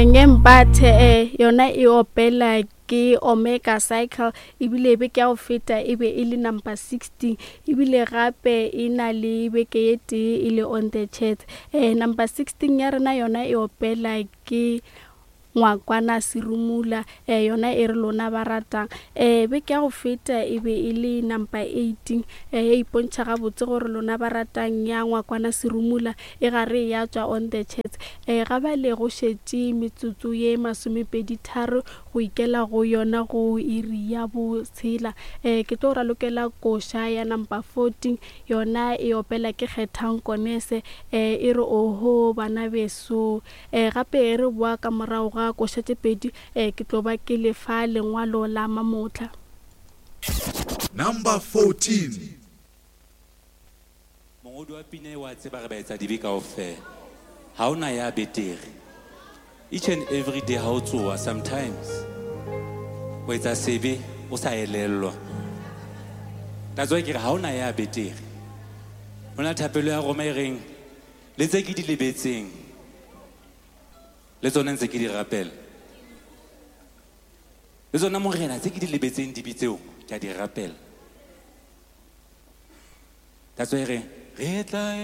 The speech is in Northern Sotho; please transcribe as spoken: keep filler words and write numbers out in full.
Ngempathe eh yona e opela ke Omega Cycle, ebile beke ya go feta e be e le number sixteen, ebile gape e na le beke ye tee e le on the charts. Eh number sixteen ya rena yona e opela ke Ngwakwana Serumula, eh yona e re lona ba ratang. Eh beke ya go feta e be e le number eighteen, eh e ipontšha gabotse gore lona ba ratang ya Ngwakwana Serumula e gare ya tšwa on the charts. Eh ga bale go šetše metsotso ye masomepedi tharo go ikela go yona go iri ya botshela. Eh ke tlo ralokela koša ya number fourteen, yona e opela ke Kgethang Konese, eh e re oho bana beso. Eh gape e re boa ka morago ga koša tše pedi, eh ke tlo ba ke lefa lengwalo la mamotla. Number fourteen. Mongodi wa pina e wa tseba re ba etsa dibe kaofela. Ha hona ya betere. Each and every day ha o tsoha, sometimes o etsa sebe o sa elellwa. That's why ke re ha hona ya betere. Ho na le thapelo ya Roma e reng le tse ke di lebetseng le tsona ntse ke di rapela. Le tsona morena tse ke di lebetseng dibe tseo ke a di rapela. That's why re re tla